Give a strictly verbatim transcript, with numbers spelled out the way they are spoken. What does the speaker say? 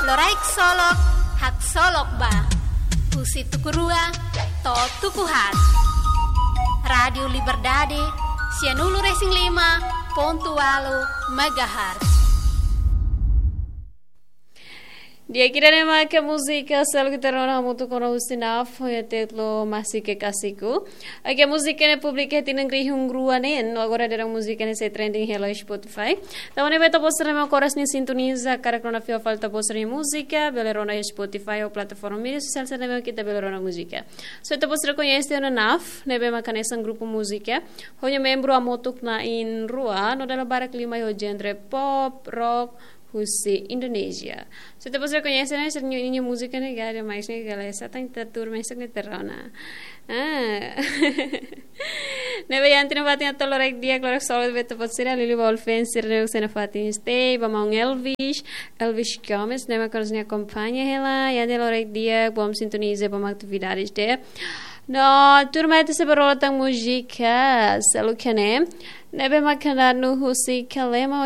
Loraik Solok, haksolok ba. Husi tuku rua to'o tuku haat. Rádiu Liberdade, sianulu-resin-lima pontu ualu megahertz. Di'ak, ida-ne'e mak múzika seluk ita rona hamutuk ona husi NAF, ho títulu Masih Kekasihku. Oke, múzika ne'e publika iha tinan rihun rua neen, no agora daudaun múzika ne'e sei trending hela iha Spotify. Tanba ne'e ba ita-boot sira ne'ebé mak oras ne'e sintoniza, karik rona fila fali ita-boot sira-nia múzika, bele rona iha Spotify ou plataforma mídia sosiál sira ne'ebé mak ita bele rona múzika. So ita-boot sira koñese ona NAF, ne'ebé mak hanesan grupu múzika, ho nia membru hamutuk na'in-rua, no dala barak liu mai ho genre pop, rock, husi Indonézia. So ita-boot sira koñese ona, sira-nia, nia múzika ne'e gaya demais ne'e, gaya sá tan ita tuur mesak ne'e ita rona. Ah. Ne'ebé iha tinan fatin atu loraik di'ak, loraik solok ba ita-boot sira, liuliu ba all fans sira ne'ebé sei iha fatin stay, ba maun Elvis, Elvis Gomes, ne'ebé mak oras ne'e akompaña hela, iha tinan loraik di'ak, bom sintoniza, bom atividades de'it. No, tuirmai ita sei bá rona tan múzika seluk iha ne'e, ne'ebé mak kantadu husi Kalema,